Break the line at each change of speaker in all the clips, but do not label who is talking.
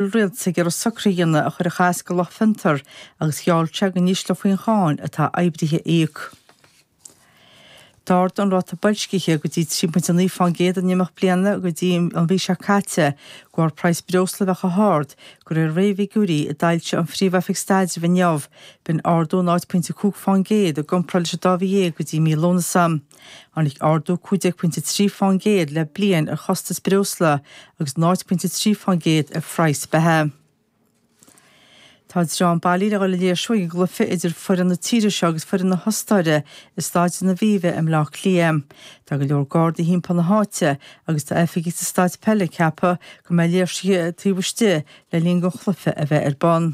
Rialtas ag iarraidh socruithe a dhéanamh a chuirfeadh as do lucht fiontar agus gheall sé go n-ísleofaí an cháin atá oibrithe a íoc. D'ardaigh an ráta boilscithe go dtí 3.9% in imeacht bliana go dtí an mhí seo caite, de bharr praghas breosla a bheith chomh hard, de réir réamhfhigiúirí a d'fhoilsigh an Phríomh-Oifig Staidrimh inniu. B'in ardú 0.5% i gcomparáid leis an dá mhí dhéag go dtí mí Lúnasa. Tháinig ardú 15.3% le bliain ar chostas breosla agus 0.3% ar phraghas beatha. Tá dream bailithe le dhul ag léirsiú ag an gcluiche idir foireann na tíre seo agus foireann na hOstáire i Staid an Aviva i mBleá Cliath. Tá go leor gardaí thimpeall na háite agus tá oifigigh sa staid peile ag ceapadh go mbeidh léirsithe taobh istigh le linn don chluiche a bheith ar bun.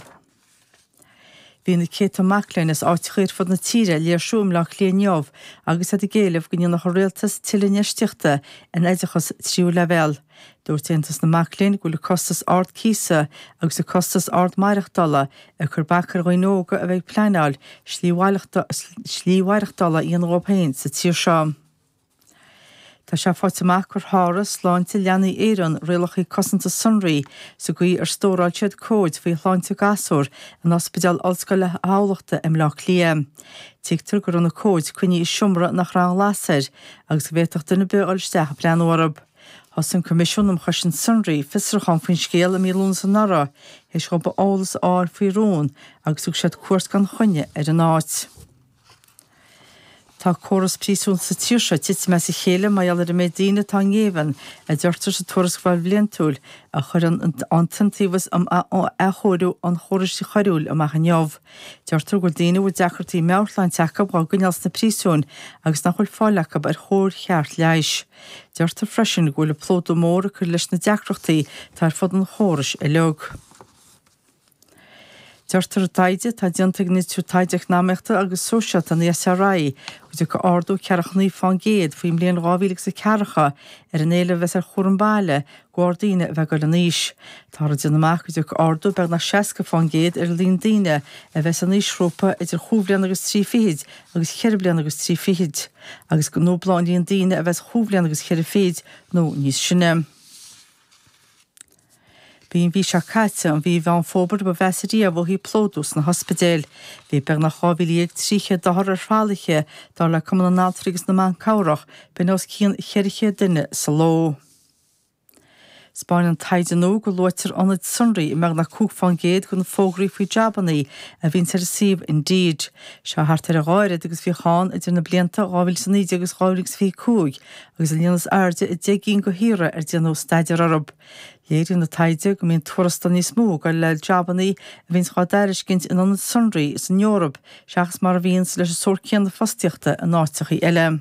Bhí na céadta mac léinn as áiteacha ar fud na tíre ag léirsiú i mBleá Cliath inniu agus iad ag éileamh go ndéanfadh an rialtas tuilleadh infheistíochta in oideachas tríú leibhéal. Dúirt Aontas na Mac Léinn go bhfuil an costas ard cíosa agus an costas ard maireachtála ag cur bac ar dhaoine óga a bheith ag pleanáil slí mhaireachtála a dhéanamh dhóibh féin sa tír seo. Tá sé faighte amach gur sháraigh Sláinte Leanaí Éireann rialacha cosanta sonraí sa gcaoi ar stóráil siad comhaid faoi shláinte gasúr in Ospidéal Ollscoile Thamhlachta i mBleá Cliath. Tuigtear go raibh na comhaid coinnithe i seomra nach raibh aon ghlas air agus go bhféadfadh duine ar bith a dhul isteach ag breathnú orthu. Thosaigh an Coimisiún um Chosaint Sonraí fiosrúchán faoin scéal i mí Lúnasa anuraidh théis dhóibh eolas a fháil faoi rún agus thug siad cuairt gan choinne ar an áit. Tá córas príosún sa tír seo ag titim as a chéile mar gheall ar an méid daoine atá i ngéibheann, a deirtear sa tuarascáil bhliantúil a chuir an tIontaobhas um Athchóiriú an Chórais Choiriúil amach inniu. Deirtear go bhfuil daoine a bhfuil deacrachtaí meabhairshláinte acu á gcoinneáil sna príosúin agus nach bhfuil fáil acu ar chóir cheart leighis. Deirtear freisin go bhfuil an plódú mór ag cur leis na deacrachtaí atá ar fud an chórais uilig. Deirtear i dtaighde atá déanta ag an Institiúid Taighde Eacnamaíochta agus Sóisialta, an ESRI, go dtiocfaidh ardú ceathracha 9 fán gcéad faoin mbliain 2040 ar an éileamh a bheas ar chúram baile de bharr daoine a bheith ag dul in aois. Táthar ag déanamh amach go dtiocfaidh ardú beagnach 60 fán gcéad ar an líon daoine a bheas san aoisghrúpa idir chúig bhliana agus trí fichid agus cheithre bliana agus trí fichid, agus go ndúblóidh an líon daoine a bheas chúig bhliana agus cheithre fichid nó níos sine. B'í an mhí seo caite an mhí Mheán Fómhair ba mheasa riamh ó thaobh plódú sna hospidéil. Bhí beagnach 12,300 othar ar thralaithe, dar le Cumann na nAltraí agus na mBan Cabhrach, b'in os cionn 400 duine sa ló. 'Spáineann taighde nua go luaitear ionaid sonraí i mbeagnach 5 fán gcéad de na fógraí faoi jabanna a bhíonns ar an suíomh Indeed. Seo thart ar a dhá oiread agus bhíodh ann idir na blianta 2019 agus 2025 agus an líon is airde i 10 gcinn de thíortha ar déanadh staidéar orthu. Léiríonn an taighde go mbíonn tuarastal níos mó ag dul le jabanna a bhíonns á dtairiscint in ionaid sonraí san Eoraip seachas mar a bhíonns leis an sórt céanna fostaíochta in áiteachaí eile.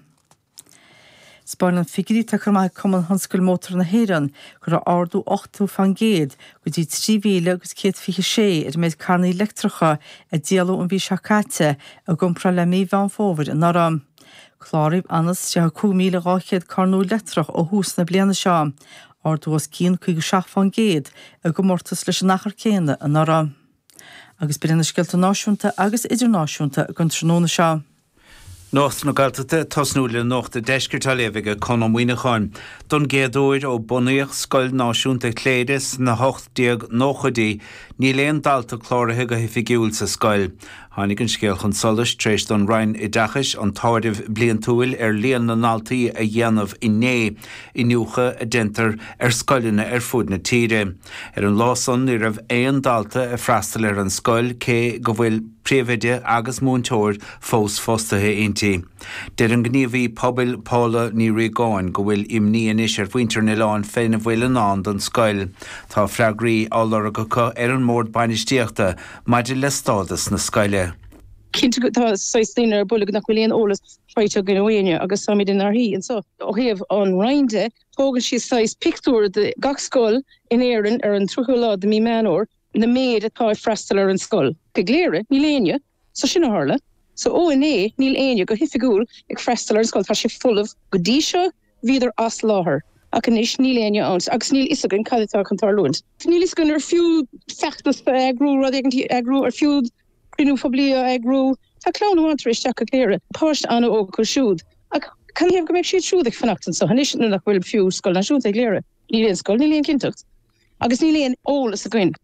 'Spáineann figiúirí atá curtha amach ag Cumann Thionscal Mótar na hÉireann go raibh ardú 80 fán gcéad go dtí 3,000 agus 126 ar an méid carrannaí leictreacha a díoladh an mhí seo caite i gcomparáid le mí Mheán Fómhair anuraidh. Cláraíodh anuas 35,200 carr nua leictreach ó thús na bliana seo, ardú os cionn 57 fán gcéad i gcomórtas leis an achar céanna anuraidh. Agus b'in iad na scéalta náisiúnta agus idirnáisiúnta don tráthnóna seo.
Nuacht na Gaeltachta ag tosnú le Nuacht an Deiscirt á léamh ag Conn Ó Muíneacháin. Don gcéad uair ó bunaíodh Scoil Náisiúnta Chléire sna 1890idí, níl aon dalta cláraithe go hoifigiúil sa scoil. Tháinig an scéal chun solais tar éis don Roinn Oideachais an t-áireamh bliantúil ar líon na ndaltaí a dhéanamh inné, iniúchadh a déantar ar scoileanna ar fud na tíre. Ar an lá san ní raibh aon dalta ag freastal ar an scoil cé go bhfuil príomhoide agus múinteoir fós fostaithe inti. Deir an gníomhaí pobail Paula Ní Riagáin go bhfuil imní anois ar mhuintir an oileáin féna bhfuil i ndán don scoil. Tá freagraí á lorg acu ar an mBord Bainistíochta maidir le stádas na scoile.
Cinnte tá saghas daoine ar buile nach bhfuil aon eolas faighte againn ó éinne agus táimid inár shuí anseo. Ó thaobh an Roinn de, tógann siad saghas pictiúr de gach scoil in Éirinn ar an 30ú lá de mí Meán Fhómhair, na méid atá ag freastal ar an scoil. I gCléire, níl éinne. So sin a tharla. So ó inné, níl éinne go hoifigiúil ag freastal ar an scoil. Tá sé folamh. Go dtí seo, Bhíodar as láthair, ach anois níl éinne ann agus níl fhios againn cad atá chun tarlúint. Níl fhios againn ar fiú feachtas a eagrú, rud éigin a eagrú, ar fiú cruinniú poiblí a eagrú. Tá clann amháin tar éis teacht go Cléire, páiste an-óg acu siúd, ach cad ina thaobh go mbeidh siad siúd ag fanacht anseo anois nuair nach bhfuil fiú scoil náisiúnta i gCléire? Níl aon scoil, níl aon chinnteacht. Agus níl aon eolas againn.